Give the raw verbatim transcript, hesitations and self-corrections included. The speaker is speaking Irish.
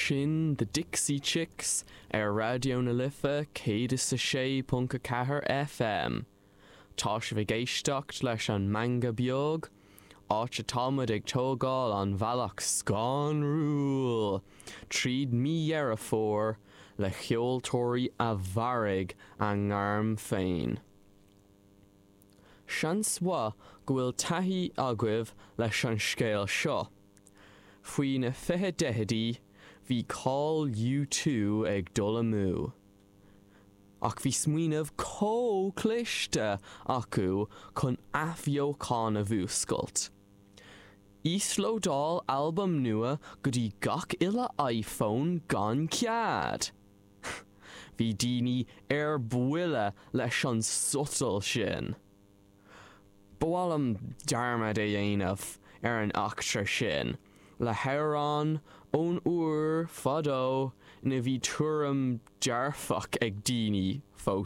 Sin The Dixie Chicks ar Raidió na Life céad is a sé ponc a ceathair FM. Tá sibh ag éisteacht leis an Meangadh Beag, áit atáimid ag tógáil an bhealach scanrúil tríd mí Dheireadh Fómhair le ceoltóirí a mharaigh a ngairm féin. Seans mhaith go bhfuil taithí agaibh leis an scéal seo. Faoi na fiche daichidí bhí cáil U two ag dul amú. Ach bhí smaoineamh chomh cliste acu chun athbheochan a mhúscailt. Íoslódáil albam nua go dtí gach uile iPhone gan cead! Bhí daoine ar buile leis an sotal sin. Ba mhaith liom dearmad a dhéanamh ar an eachtra sin le hamhrán ón uair fadó ina bhí tuairim dearfach ag daoine fós.